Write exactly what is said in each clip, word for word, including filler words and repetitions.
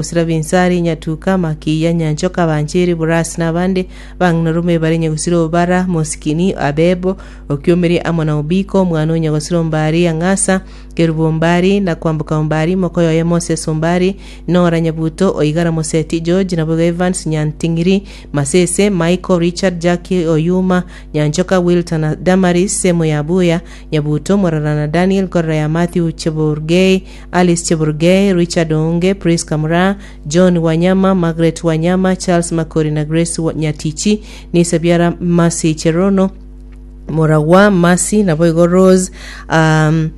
Gosira Binsari, Nyatuka, Makiya, Nyanchoka, Banchiri, Burasi na abande bang'ina bare Nyagosira Obara, Mosikini, Abebo, Okiomeri amo na Obiko, omwana o Nyagosira Ombari, Ang'asa, Kerubo Ombari na Kwamboka Ombari, mokoyoye Moses Ombari, Nora Nyabuto, Oigara Moseti, George Naboigo Evans, Nyanting'iri, Masese, Michael, Richard, Jackie, Oyuma, Nyanchoka, Wilton na Damaris, Semo ya Buya, Nyabuto, Morara na Daniel, Korora ya Matthew Cheburgei, Alice Cheburgei, Richard Oonge, Priska Mura, John Wanyama, Margaret Wanyama, Charles Makori na Grace Wa- Nyatichi, Nisa Biara Masi Cherono, Moragwa Masi naboigo Rose um,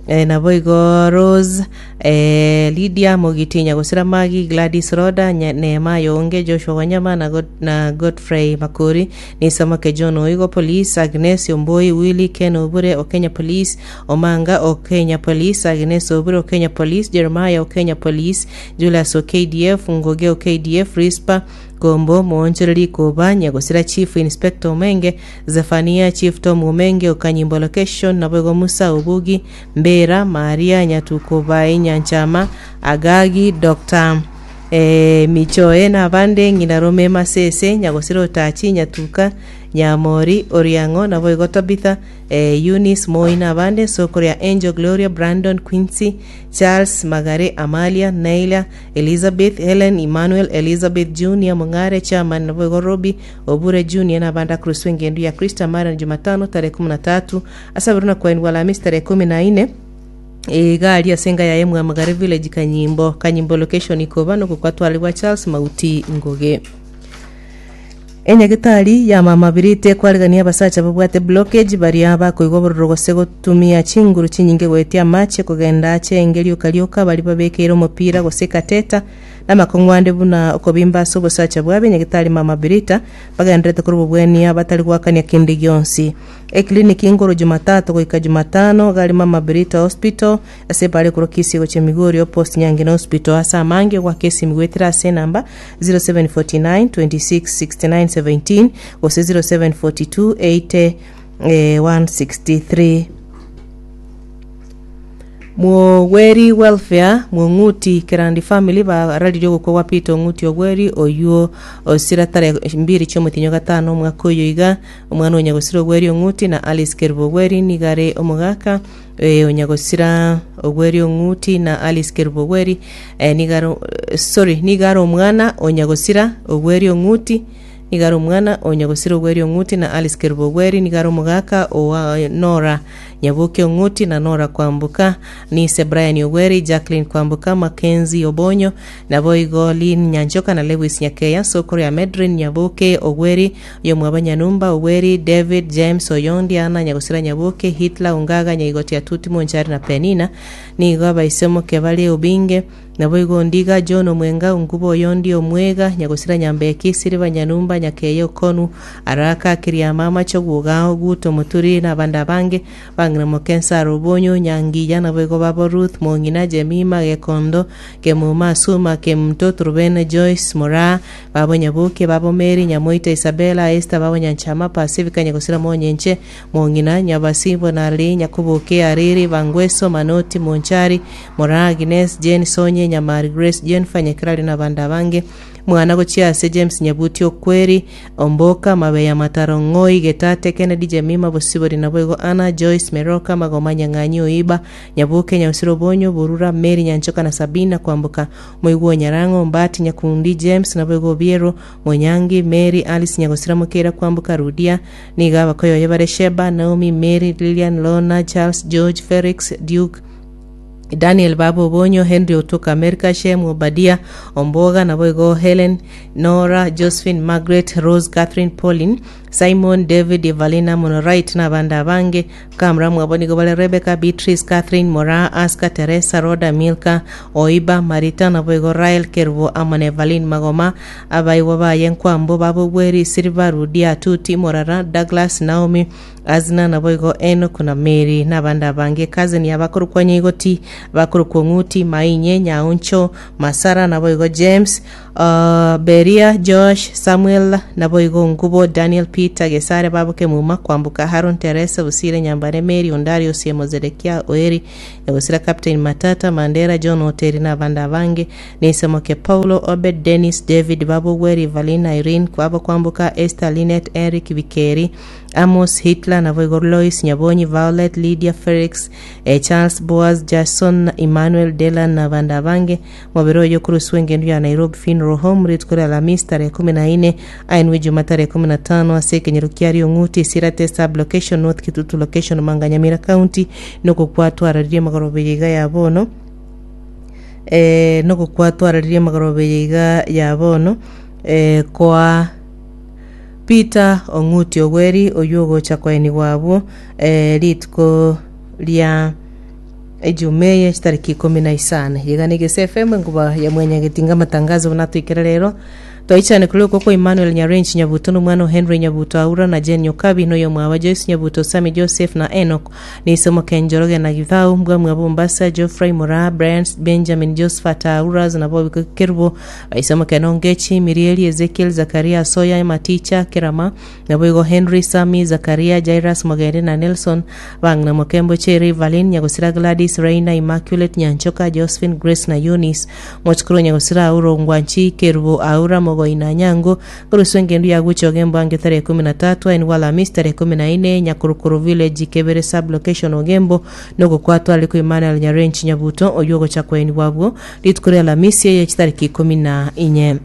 eh, naboigo Rose eh, Lydia Mogiti Nyagosira Magi Gladys Roda Nya- Neema Yonge Joshua Wanyama na, God, na Godfrey Makori Nisamake John Oigo Police Agnes Omboi Willy Ken Obure Okenya Police Omanga Okenya Police Agnes Obure Okenya Police Jeremiah Okenya Police Julius OKDF Ngoge OKDF Rispa Kombo Moonchoreri Koba Nyagosira Chief Inspector Omenge Zephania Chief Tom Omenge Okanyimbo Location Naboigo Musa Obugi Mbera Maria Nyatuko Bai Nyanchama Agagi Dr eh, Michoe na abande ng'ina Rome Masese Nyagosira Otachi Nyatuka Nyamori Oriang'o naboigo Tabitha eh, Eunice Moi na abande sokoro ya Angel Gloria Brandon Quincy Charles Magare Amalia Naila Elizabeth Helen Emmanuel Elizabeth Junior Mong'are Chairman naboigo Robi Obure Junior na abande akuruswa engendu ya Krista mara ni Jumatano tarehe kumi na tatu asabiru na kwainwa Alhamisi tarehe kumi na nne igari asenga yaye Mwamagare village Kanyimbo Kanyimbo location ikoba nokukwatwalibwa Charles Mauti Ngoge Enyagitari ya mama birite kwarigania abasacha babwate blockage baria bakoigwa obororo gose gotumia chinguru chinyinge goetia amache kogenda ache engerioka rioka bari babekeire omopira gose kateta na amakong'wande buna okobimba ase obosacha bwabe nyagitari mama birita bagenderete korwa obobwania batari gwakania kende gionsi eclinic ngoro Jumatatu goika Jumatano gari mama birita hospital ase bare korwa Kisii gochia Migori post Nyangina hospital ase amange gwaka esimi gwetera ase enamba zero seven forty-nine twenty-six sixty-nine seventeen gose zero seven forty-two eighty eh, one sixty-three. Mwogweri welfare Mwong'uti Kerandi family bararirie ogokwa gwa Peter Ong'uti Ogweri oyuo osira tarehe mbiri chiomotinyo gatano omwaka oyo iga omwana onyagosira Ogweri Ong'uti na Alice Kerubo Ogweri nigare omogaka eh, onyagosira Ogweri Ong'uti na Alice Kerubo Ogweri eh, nigare sorry nigare omwana onyagosira Ogweri Ong'uti nigare omwana onyagosira Ogweri Ong'uti na Alice Kerubo Ogweri nigare omogaka owa Nora Nyaboke Ong'uti na Nora Kwamboka nise Brian Ogweri Jacqueline Kwamboka Mackenzie Obonyo naboigo Lynn Nyanchoka na Lewis Nyakeya sokoro ya Medrin Nyaboke Ogweri yomwaba Nyanumba Ogweri David James Oyondi Ana Nyagosira Nyaboke Hitler Ungaga Nyaigoti Atuti Monchari na Penina nigo abaisemoke bare Obinge naboigo Ndiga John Omwenga Ungubo Oyondi Omwega Nyagosira Nyambeki Siriba Nyanumba Nyakeye Okonu Araka Kiriama Machoguga Guto Muturi na abande abange bang'ina Mokensa Robonyo Nyangiya naboigo babo Ruth Mong'ina Jemima Gekondo Kemuma Suma Kemto Turubene Joyce Mora babo Nyaboke babo Mary Nyamoita Isabella Esther babo Nyanchama Pacifica Nyagosira Monyenche Mong'ina Nyabasibo Nari Nyakuboke Ariri Bangweso Manoti Monchari Mora Agnes Jane Sonye Nyamari Grace Jennifer Nyakrali na abande abange mwana gochia ase James Nyabuti Okweri Omboka Mabeya Mataro Ng'oi Getate Kennedy Jemima Bosibori naboigo Anna Joyce Meroka Magoma Nyang'anyi Oiba Nyaboke Nyagosira Obonyo Burura Mary Nyanchoka na Sabina Kwamboka Moigwo Nyarang'o Mbati Nyakundi James naboigo Obiero Monyangi Mary Alice Nyagosira Mokera Kwamboka Rudia niga abakoyoye bare Sheba Naomi Mary Lilian Lona Charles George Felix Duke Daniel Babo Obonyo Henry Otuka America Shem Obadia Omboga naboigo Helen Nora Josephine Margaret Rose Catherine Pauline Simon David Evalina Monorait na abande abange kamra mwabo nigo bare Rebecca Beatrice Catherine Mora Aska Teresa Roda Milka Oiba Marita naboigo Rael Kerubo amo na Evelyn Magoma abaigwa baye Nkwambo babo Bweri Silva Rudia Tuti Morara Douglas Naomi Azna naboigo Enoch na Mary na abande abange cousin yabakorokwa Nyaigoti bakorokwa Ng'uti Mainye Nyauncho Masara naboigo James uh, Beria Josh Samuel naboigo Ngubo Daniel Peter Gesare Baboke Muma Kwambuka Haron Teresa Busire Nyambane Mary Ondari Osiemo Zedekia Oeri Nyagosira Captain Matata Mandera John Oteri na abande abange Nisemoke Paulo Obed Dennis David Babogweri Valina Irene Kwabo Kwambuka Esther Linet Eric Bikeri Amos Hitler naboigo Lois Nyabonyi Violet Lydia Felix eh, Charles Boaz Jason Emmanuel Delan na abande abange mobere oyo kuruswa engendo ya Nairobi Funeral Home rituko ria Alhamisi tarehe kumi na ine ainwe Juma tarehe kumi na tano ase ekenyero kia Riong'uti Sirate sub location North Kitutu location Manga Nyamira County nogokwatwararirie magoroba iga ya bono eh, nogokwatwararirie magoroba iga ya bono eh, kwa Peter Ong'uti Ogweri oyo ogocha kwaenigwa abwo eh, rituko ria ejumeye chitariki ikumi na isano iga ni Gese F M enguba ya mwenyagetinga amatangazo buna twikere rero twaichane kuri uko kwa Emmanuel Nyarenchi Nyabuto n'umwana wa Henry Nyabuto Aura na Jane Nyokabi n'oyo mwaba Joyce Nyabuto Sami Joseph na Enoch nisomo Kenjoroge na Githau mbwa mwa Mombasa Geoffrey Mura Brian Benjamin Josephat Aura na Bobi Kerubo isomo Kenongechi Mirieli Ezekiel Zakaria Soya Maticha Kerama na boigo Henry Sami Zakaria Jairus Mogende na Nelson Bangna Mokembo Cherry Valin Nyagosira Gladys Reina Immaculate Nyanchoka Josephine Grace na Eunice Mochukuru Nyagosira Auro Ngwanchi Kerubo Aura Mogo Inanyango kurusu engendu ya guchoge mbange tarehe kumi na tatu aini wala Alhamisi tarehe kumi na ine Nyakurukuru village Kebere sub location Ogembo nogokwatwa aliko Emmanuel Nyarenchi Nyabuto oyogo chakweni wabwo rituko ria Alhamisi eye chitariki ikumi na inye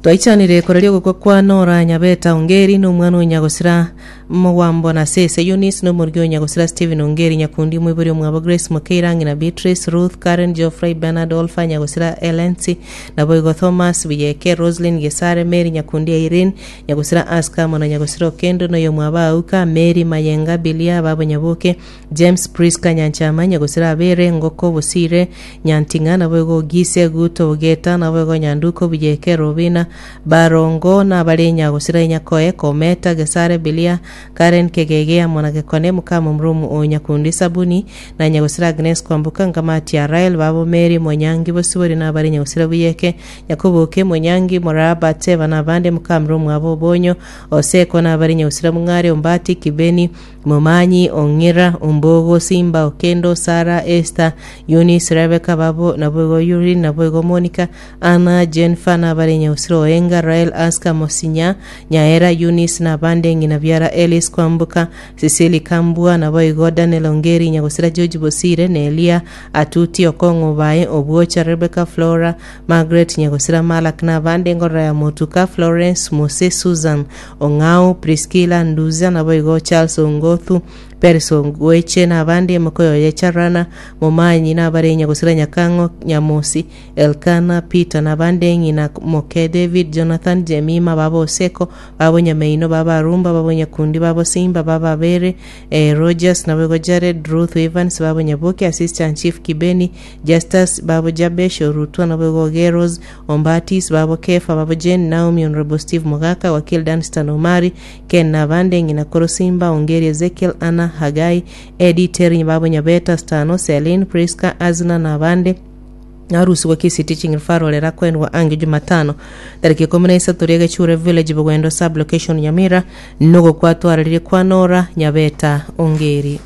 twaichanire koreria gokwa kwa Nora Nyabeta Ongeri n'omwana onyagosira Mowambo na Sese Eunice n'omurigi onyagosira Stephen Ongeri Nyakundi mwiburi omwabo Grace Mukeirangi na Beatrice Ruth Karen Geoffrey Bernard Olfa Nyagosira Elensi naboigo Thomas Biyeke Roslyn Gesare Mary Nyakundi Irene Nyagosira Aska mona Nyagosira Okendo noyo mwaba Auka Mary Mayenga Bilia babo Nyaboke James Priska Nyanchama Nyagosira Abere Ngoko Busire Nyantinga naboigo Gise Guto Geta naboigo Nyanduko Biyeke Robina Barongo na abare Nyagosira Nyakoe Kometa Gesare Bilia Karen Kegege amona Gekone mukama mrumu o Nyakundi Sabuni na Nyagosira Agnes Kwambuka Ngamati ya Rael babo Mary Monyangi Bosibori na abare Nyagosira Buyeke Nyakubuke Monyangi Moraba Teva na abande mukamrumu abo Bonyo Oseko na abare Nyagosira Mungare Ombati Kibeni Momanyi Ongira Ombogo Simba Okendo Sara Esther Eunice Rebecca babo naboigo Yuri naboigo Monica Anna Jennifer na abare Nyagosira Oenga Rael Aska Mosinya Nyaera Eunice na abande ng'ina biara Elis Kwambuka Cecily Kambua naboigo Daniel Ongeri Nyagosira George Bosire Nelia Atuti Okong'o Bae Obwocha Rebecca Flora Margaret Nyagosira Malak na abande ngorora ya Motuka Florence Mose Susan Ong'au Priscilla Nduza naboigo Charles Ongothu Peris Ongweche na abande Mokoyo Yecharana Momanyi na abare Nyagosira Nyakang'o Nyamosi Elkana Peter na abande ng'ina Moke David Jonathan Jemima babo Oseko babo Nyameino babo Arumba babo Nyakundi babo Simba babo Abere eh, Rogers naboigo Jared Ruth Evans babo Nyaboke Assistant Chief Kibeni Justus babo Jabesh Orutwa naboigo Geros Ombatis babo Kefa babo Jane Naomi Honorable Steve Mogaka Wakil Danstan Omari Ken na abande ng'ina Koro Simba Ongeri Ezekiel Anna Hagai Eddie Terry babo Nyabeta Stano Celine Priska Azna na abande narusigwa Kisii Teaching Referral erakwendwa ange Jumatano tariki ikumi na isato ria Gechure Village Bugwendo sub location Nyamira nogo kwatwararire kwa Nora Nyabeta Ongeri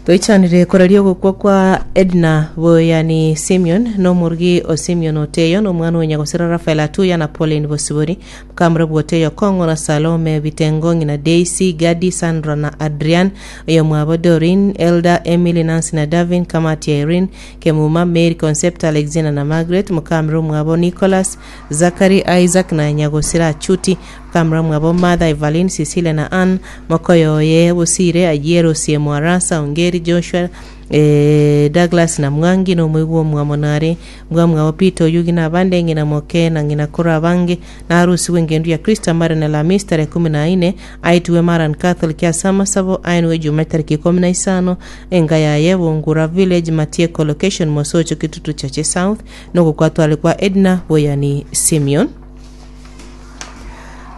toichanire koraria ogokwa kwa Edna Boyani Simeon n'omurugi o Simeon Oteyo n'omwana wa Nyagosira Rafael Atuya na Pauline Bosibori mukamura bwoteyo Kongo na Salome Bitengongi na Daisy Gadi Sandra na Adrian oyo mwabo Dorin Elda Emily Nancy na Davin Kamati Irene Kemuma Mary Concept Alexina na Margaret mukamura mwabo Nicholas Zachary Isaac na Nyagosira Achuti mukamura mwabo Martha Evelyn Cecilia na Ann Mokoyoye Busire Ajiero Siemo Arasa Ongeri Joshua eh, Douglas na Mwangi n'omuigwa omwamonare mbwamwabo Peter Oyugi na abande ng'ina moke na ng'ina koro abange na harusi w'engendu ya Krista mara na Alhamisi tarehe kumi na ine aitiwe Maran Catholic ya Samasabo ainwe Jumaa tariki ikumi na isano enga yaye Bungura Village Matieko location Mosocho Kitutu Chache South nogokwatwale kwa Edna Boyani Simeon.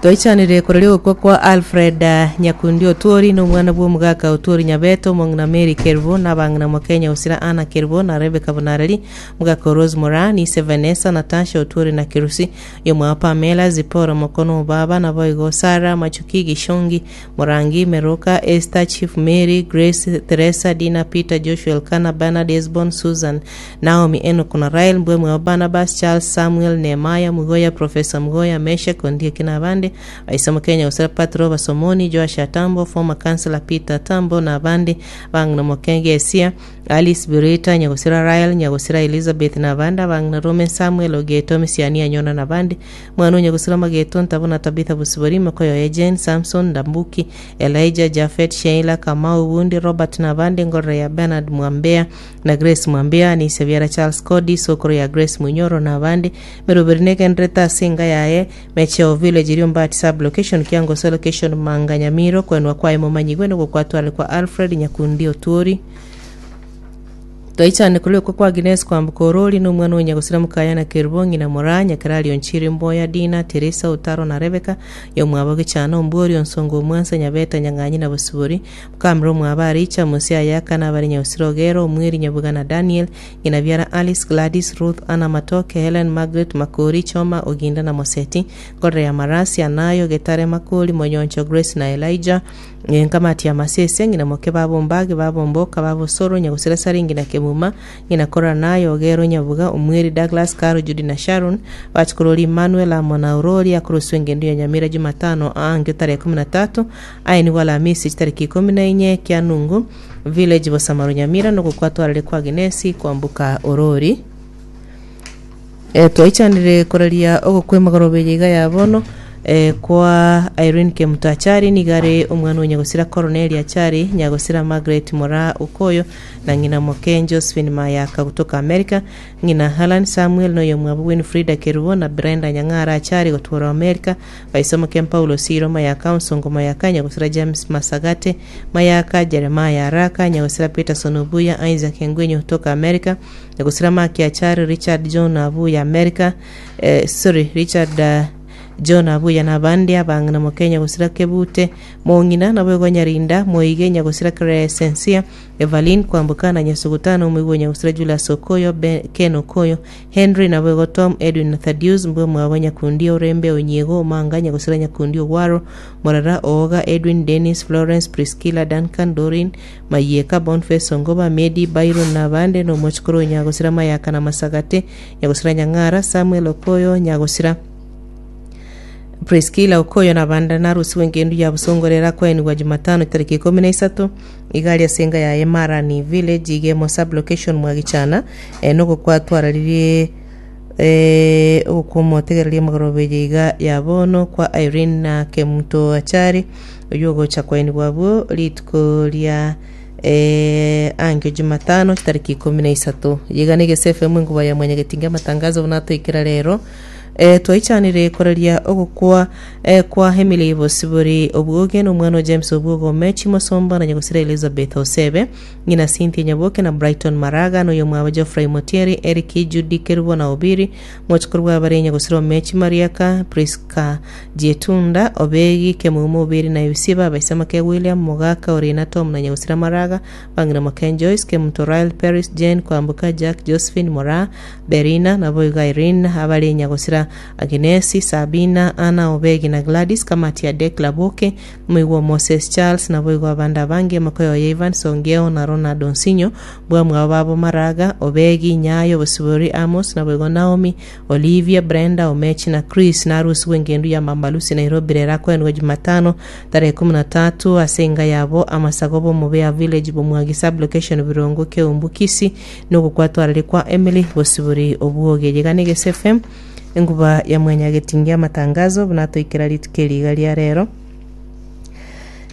Toichanire koraria ogokwa kwa Alfred eh, Nyakundi Otuori na omwana bwa omogaka Otuori Nyabeto, omong'ina Mary Kerubo, na abang'ina Mokenya Osira Anna Kerubo na Rebecca Bunareri, omogaka Rose Moraa, Nise Vanessa, Natasha Otuori na Kerusi, yomwabo Pamela, Zipora Mokono Obaba, naboigo Sarah Machuki Gishongi, Morangi, Meroka, Esther, Chief Mary, Grace, Teresa, Dina, Peter, Joshua, Elkana, Bernard, Esbon, Susan, Naomi, Enoch na Rael, mbwe mwabo Barnabas, Charles, Samuel, Nehemiah, Mugoya, Professor Mugoya, Meshak, Ondieki na abande, Aisa Kenya Osira Patro Basomoni, Joash Atambo, former councillor Peter Tambo na abande, bang'ina Mokenge Esia, Alice Birita, Nyagosira Rael, Nyagosira Elizabeth na abande, abang'ina Roman Samuel Ogeto, Misiani Anyona na abande, mwana Nyagosira Mageto, Ntabona Tabitha Busibori, Makoyo Jane, Samson Ndambuki, Elijah Jafet, Sheila Kamau Wundi, Robert na abande, Ngorora ya Bernard Mwambea na Grace Mwambea, ni Seviara Charles Cody, Sokoro ya Grace Munyoro na abande, Meroberi negenderete ase enga yaye, Mecheo Village iri Ombati sub location Kiangoso location Manga Nyamiro kwenwa kwaye momanyigwe nogokwatware kwa Alfred Nyakundi Otuori. Twaichane kuri kwa Agnes kwambuka orori na omwana onyagosira mukaya na Kerubo ng'ina Moraa Nyakerari Onchiri Mboya Dina Teresa Otaro na Rebecca yomwabo Gichana Ombori Onsongo Omwansa Nyabeta Nyang'anyi na Bosibori Mukamira omwabo Aricha Musi Ayaka na abare Nyagosira Ogero Omweri Nyabuga na Daniel ng'ina biara Alice Gladys Ruth Anna Matoke Helen Margaret Makori Choma Oginda na Moseti Ngorere ya Marasi Anayo Getare Makori Monyoncho Grace na Elijah nkamati ya Masese ng'ina moke babombage babomboka babosoro Nyagosira Saringi na Kemuma ng'ina Kora nayo Ogero Nyabuga Omweri Douglas Karo Judy na Sharon bachikorori Emmanuel amo na Aurori akoroswa engendo ya Nyamira Jumatano aange tarehe kumi na tatu aye nigo Alhamisi chitariki ikumi na inye Kianungu village Bosamaro Nyamira nogokwatwarire kwa Agnesi kwambuka Orori. E, twaichanire koraria ogokwa emagoroba eye iga ya bono e, kwa Irene Kemuto Achari nigare omwana o Nyagosira Coronel Achari Nyagosira Margaret Mora Okoyo na ng'ina Moke Josephine Mayaka kutoka America ng'ina Helen Samuel noyo mwabo Winfrida Kerubo na Brenda Nyang'ara Achari gotwara America baisomo Ken Paulo Siro Mayaka Onsongo Mayaka Nyagosira James Masagate Mayaka Jeremiah Araka Nyagosira Peterson Obuya Isaac Ngwenyo kutoka America Nyagosira Maki Achari Richard John Abuya America eh, sorry Richard uh, John Abuya na abandi abang'ina Mokenya gosira Kebute Mong'ina nabo Nyarinda Moige Nyagosira Crescencia Evelyn Kwambuka na Nyasugutano Omoigwe Nyagosira Julius Okoyo Ben, Ken Okoyo Henry nabo Tom Edwin na Thaddeus mbwe mwabo Nyakundi Orembe Onyiego Omanga Nyagosira Nyakundi Ogwaro Morara Ooga Edwin Dennis Florence Priscilla Duncan Dorin Mayeka Boniface Ongoba Medi Byron na abande na omochikoro Nyagosira Mayaka na Masagate Nyagosira Nyang'ara Samuel Okoyo Nyagosira Priscilla Okoyo na banda narusiwe engendu ya busongorera kwenigwa Jumatano tariki ikumi na isato igari asenga ya Emarani village igemo sub location mwagichana e, nogokwatwararirie eh, ogokumotegereria magoroba eye iga ya bono kwa Irene na Kemuto Achari oyo ogocha kwenigwa abwo rituko ria eh, angio Jumatano tariki ikumi na isato yiga na Egese F M enguba ya mwanyagetinga amatangazo buna toikera rero eh, twaichanire koraria ogokwa eh, kwa Emily Bosibori Obwoge na omwana o James Obwoge Omechi Mosomba na Nyagosira Elizabeth Osebe ng'ina Cynthia Nyaboke na Brighton Maraga na oyo mwabo Geoffrey Motieri Eric Judy Kerubo na Obiri mochikoro bwa bare Nyagosira Omechi Mariaka Priska Jietunda Obegi Kemumo Obiri na Yusiba Baisamake William Mogaka Orina Tom na Nyagosira Maraga Bang'ina Maken Joyce Kemuto Rael Paris Jane Kwambuka Jack Josephine Mora Berina nabo iga Irene abare Nyagosira Agnesi Sabina Anna Obegi na Gladys kamati ya Dekla Boke muigwa Moses Charles nabo igwa abanda abange makoyo ya Ivan Songeo na Ronald Onsinyo bwa mwabo babo Maraga Obegi Nyayo Bosibori Amos nabo igwa Naomi Olivia Brenda Omechi na Chris na arusi wengendu ya Mambalusi Nairobi rera kwenwa Jumatano tarehe kumi na tatu asenga yabo amasago bo Mubea village bomwagi sub location Birongo Keumbu Kisii nogokwatwarire kwa Emily Bosibori Obwoge yiga na Egese F M enguba ya mwanyagetingia amatangazo bunatoikera rituko eriga ria rero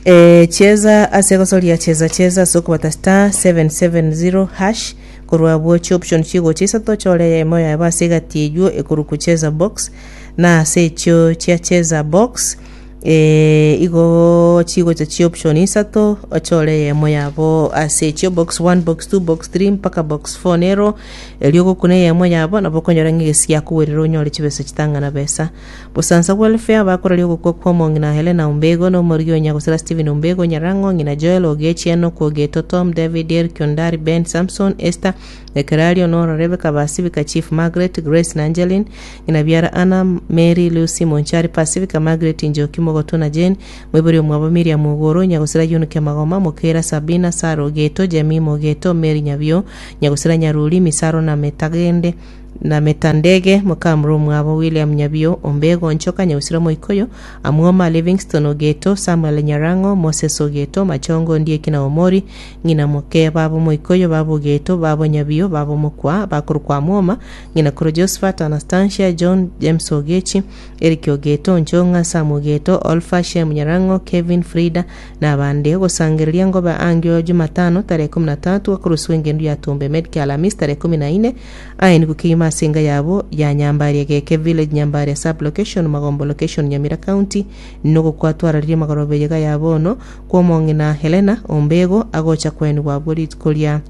e, cheza ase gosoria cheza cheza ase okobata star seven seven zero hash korwa bwochi option chigocha isato chore yemo yabo ase egati eywo ekoru kucheza box na ase echio chia cheza box eh, igo chigocha chi option isato ochore eyemo yabo ase echio box one, box two, box three mpaka box four nero erio ogokuna eyemo yabo nabo okonyora ng'a egesi giakowerera onyore chibesa chitang'ana besa. Busansa Welfare bakoraria ogokwa kwa omong'ina Helena Ombego na omorigi o Nyagosira Stephen Ombego Nyarang'o ng'ina Joel Ogechi Enock Ogeto Tom David Eric Ondari Ben Samson Esther Ekerario Nora Rebecca Basibika Chief Margaret Grace na Angeline ng'ina biara Anna Mary Lucy Monchari Pacifica Margaret Njoki Mogoto na Jane Mwibori omwabo Miriam Ogoro Nyagosira Yunuke Magoma Mokera Sabina Sara Ogeto Jemima Ogeto Mary Nyabio Nyagosira Nyaruri Misaro na Metagende na Metandege Mokamuro omwabo William Nyabio Ombego Nchoka Nyagosira Moikoyo Amwoma Livingston Ogeto Samuel Nyarang'o Moses Ogeto Machongo Ndieki na Omori ng'ina moke babo Moikoyo babo Ogeto babo Nyabio babo Mokwa bakorokwa Amwoma ng'ina koro Josephat Anastasia John James Ogechi Eric Ogeto Nchong'a Sam Ogeto Olfa Shem Nyarang'o Kevin Frida na abande ogosangereria ngobe angio Jumatano tarehe kumi na tatu akoroswa engendo ya Tumbe Medicare Alhamisi tarehe kumi na nne aye kukima asenga yabo ya Nyambaria Geke Village Nyambaria sub location Magombo location Nyamira County nogokwatwararirie magorobe yega yabono kwomong'ina Helena Ombego agocha kwenigwa abwo rituko ria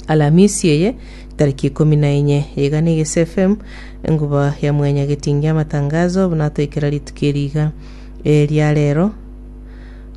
Alhamisi eye tariki ikumi na inye iga ni Gese F M enguba ya mwenya getingia amatangazo buna toikera rituko eriga ria rero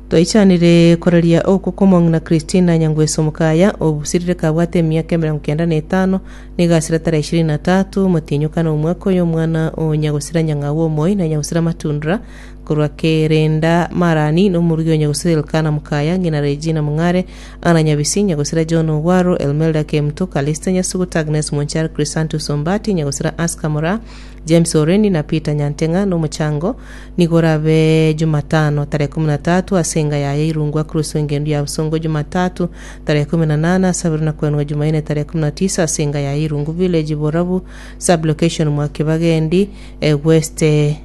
twaichanire koraria oko komong'ina Christina Nyangweso Mukaya obusirire kabwate emiaka emirongo kenda na etano nigasira tarehe ishirini na tatu motinyukana omwaka oyo omwana o Nyagosira Nyang'au omoi na Nyagosira Matundra korwa Kerenda Marani na omorugi o Nyagosira Elkana Mukaya ng'ina Regina Mung'are Ana Nyabisi Nyagosira John Ogwaro Elmelda Kemto Kalista Nyasuguta Agnes Monchar Chrysantus Ombati Nyagosira Aska Mora James Oreni na Peter Nyantenga na omochango nigo orabe Jumatano tarehe kumi na tatu ase enga yaye Irungu Cruz engendu ya Busongo Jumatatu tarehe kumi na nane asabiri na kwenwa Jumanne tarehe kumi na tisa ase enga yaye Irungu Village Borabu sub location Mwakibagendi eh, West eh,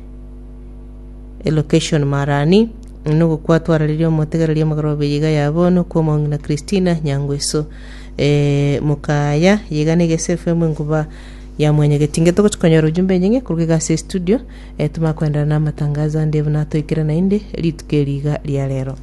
location Marani nogokwatwararirie omotegereria omogoroba yiga ya bono kwomong'ina Christina Nyangweso eh, Mukaya yiga na Gese F M enguba ya mwenyegetinge togochikonyora ujumbe nyinge kuruga egasi studio eh, tumakwendera na amatangazo ande buna toikera naende rituko eriga ria rero.